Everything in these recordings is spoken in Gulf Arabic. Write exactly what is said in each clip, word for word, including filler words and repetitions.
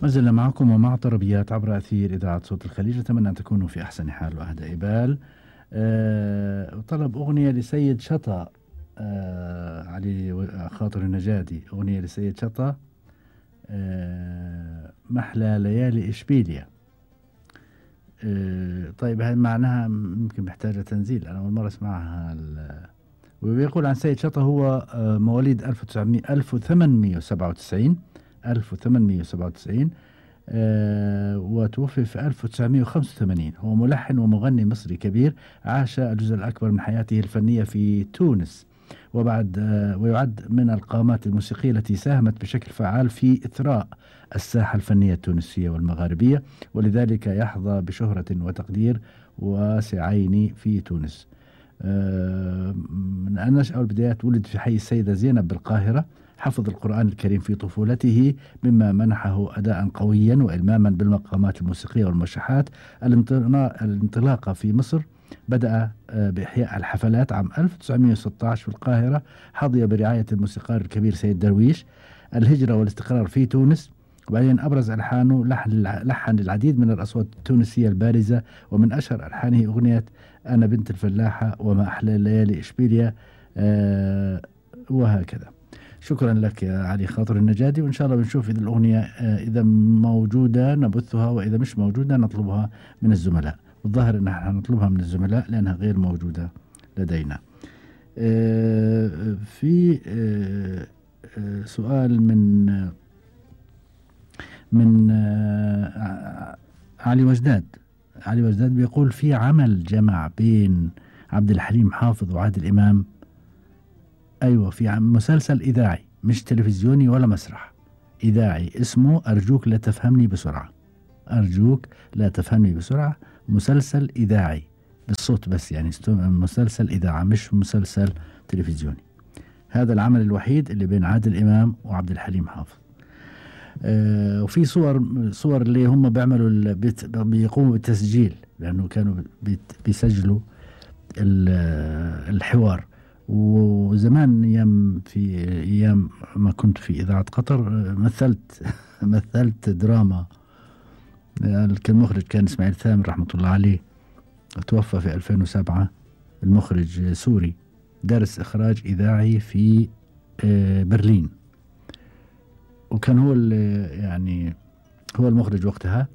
ما زلنا معكم ومع طربيات عبر أثير إذاعة صوت الخليج. أتمنى أن تكونوا في أحسن حال وأهدى بال. أه طلب أغنية لسيد شطا، أه علي خاطر النجادي، أغنية لسيد شطا، أه محلى ليالي إشبيليا. أه طيب هاي معناها ممكن محتاجة تنزيل، أنا أول مرة أسمعها. ويقول عن سيد شطا هو أه مواليد ألف وثمانمئة وسبعة وتسعين ألف وثمانمئة وسبعة وتسعين، أه وتوفي في ألف وتسعمئة وخمسة وثمانين. هو ملحن ومغني مصري كبير، عاش الجزء الأكبر من حياته الفنية في تونس، وبعد أه ويعد من القامات الموسيقية التي ساهمت بشكل فعال في إثراء الساحة الفنية التونسية والمغاربية، ولذلك يحظى بشهرة وتقدير واسعين في تونس. أه من النشأة والبدايات ولد في حي السيدة زينب بالقاهرة، حفظ القرآن الكريم في طفولته مما منحه أداء قويا وإلماما بالمقامات الموسيقية والمشاحات. الانطلاقة في مصر بدأ بإحياء الحفلات عام ألف وتسعمئة وستة عشر في القاهرة، حظي برعاية الموسيقار الكبير سيد درويش. الهجرة والاستقرار في تونس، وبعدين أبرز ألحانه لحن, لحن للعديد من الأصوات التونسية البارزة، ومن أشهر ألحانه أغنية أنا بنت الفلاحة وما أحلى الليالي إشبيليا، أه وهكذا. شكرا لك يا علي خاطر النجادي، وإن شاء الله بنشوف إذا الأغنية إذا موجودة نبثها، وإذا مش موجودة نطلبها من الزملاء. والظاهر أن احنا نطلبها من الزملاء لأنها غير موجودة لدينا. في سؤال من من علي وجداد. علي وجداد بيقول في عمل جمع بين عبد الحليم حافظ وعادل إمام. أيوة، في مسلسل إذاعي مش تلفزيوني ولا مسرح، إذاعي اسمه أرجوك لا تفهمني بسرعة. أرجوك لا تفهمني بسرعة، مسلسل إذاعي بالصوت بس، يعني مسلسل إذاعة مش مسلسل تلفزيوني. هذا العمل الوحيد اللي بين عادل إمام وعبد الحليم حافظ. آه وفي صور صور اللي هم بيعملوا بيقوموا بالتسجيل، لأنه كانوا بيسجلوا الحوار. وزمان ايام في ايام ما كنت في اذاعه قطر مثلت مثلت دراما. المخرج كان اسماعيل ثامر رحمه الله عليه، توفى في ألفين وسبعة. المخرج سوري، درس اخراج اذاعي في برلين، وكان هو يعني هو المخرج وقتها.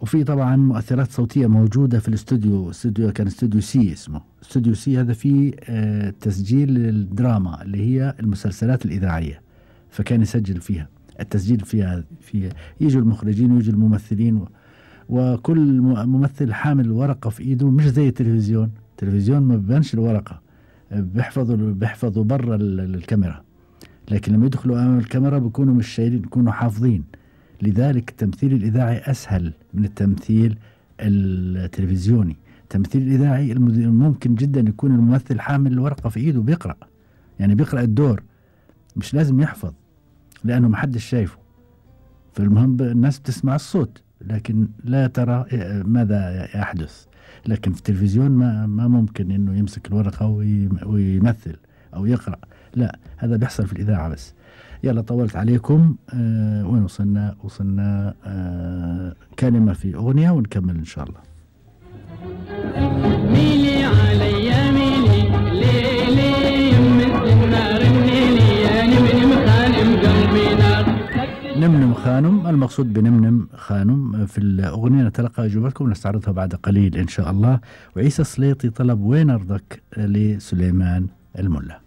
وفي طبعا مؤثرات صوتية موجودة في الاستوديو، استوديو كان استوديو سي، اسمه استوديو سي. هذا فيه آه تسجيل الدراما اللي هي المسلسلات الإذاعية، فكان يسجل فيها التسجيل فيها, فيها يجوا المخرجين ويجوا الممثلين، و وكل ممثل حامل ورقة في إيده، مش زي التلفزيون. التلفزيون ما بيبانش الورقة، بيحفظوا بيحفظوا برا الكاميرا، لكن لما يدخلوا أمام الكاميرا بيكونوا مش شايلين، بيكونوا حافظين. لذلك التمثيل الإذاعي أسهل من التمثيل التلفزيوني. التمثيل الإذاعي ممكن جدا يكون الممثل حامل الورقة في إيده بيقرأ، يعني بيقرأ الدور، مش لازم يحفظ لأنه محدش شايفه. فالمهم الناس بتسمع الصوت لكن لا ترى ماذا يحدث. لكن في التلفزيون ما, ما ممكن إنه يمسك الورقة ويمثل أو يقرأ، لا، هذا بيحصل في الإذاعة بس. يلا طولت عليكم. آه وين وصلنا؟ وصلنا آه كلمة في أغنية ونكمل إن شاء الله. ميلي علي ميلي ليلي يمس النار ميلي يا نمنم خانم قلبي نار. نمنم خانم، المقصود بنمنم خانم في الأغنية. نتلقى إجابتكم نستعرضها بعد قليل إن شاء الله. وعيسى السليطي طلب وين أرضك لسليمان الملا.